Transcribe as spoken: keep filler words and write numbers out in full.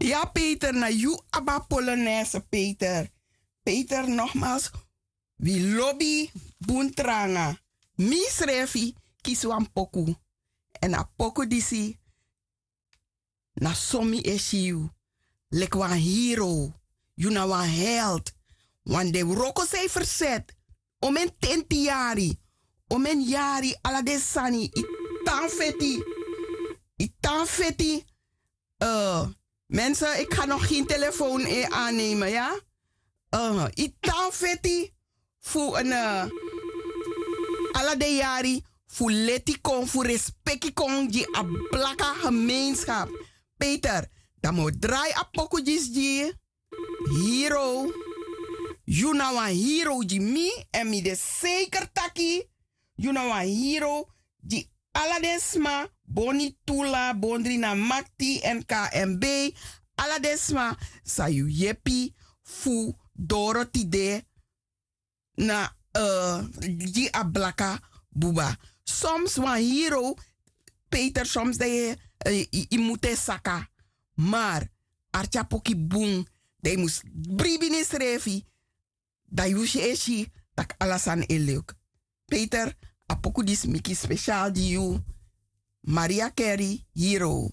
Ya peter na yu abi a polonaise peter. Peter nogmals, wi lobi bun tranga. Mi srefi kisi wan poku. Èn a poku disi na so mi e si yu leki wan hero. Yu na wan held. Wan de wroko san yu ferset. Omen tenti yari, omen yari ala den sani yu tan feti. Yu tan feti. Mensen, ik ga nog geen telefoon aannemen ya. Yu tan feti fu ala den yari fu leti kon fu respeki kon gi a blaka gemeenskap. Peter, dan mi o drai a poku disi gi yu. Hero. Yu na wan hero gi mi èn mi de seker taki yu na wan hero gi ala den sma. Boni tula bondri na makti èn kmb. Ala den sma san yu yepi fu doro tide na gi a blaka buba. Soms wan hero peter soms dan yu yu mus e saka. Mar artyapoki bun dan yu mus bribi na yusrefi. Dan yu e si tak' ala sani e luk. Peter, a poku disi mi kisi spesial gi yu. Maria kerry hero.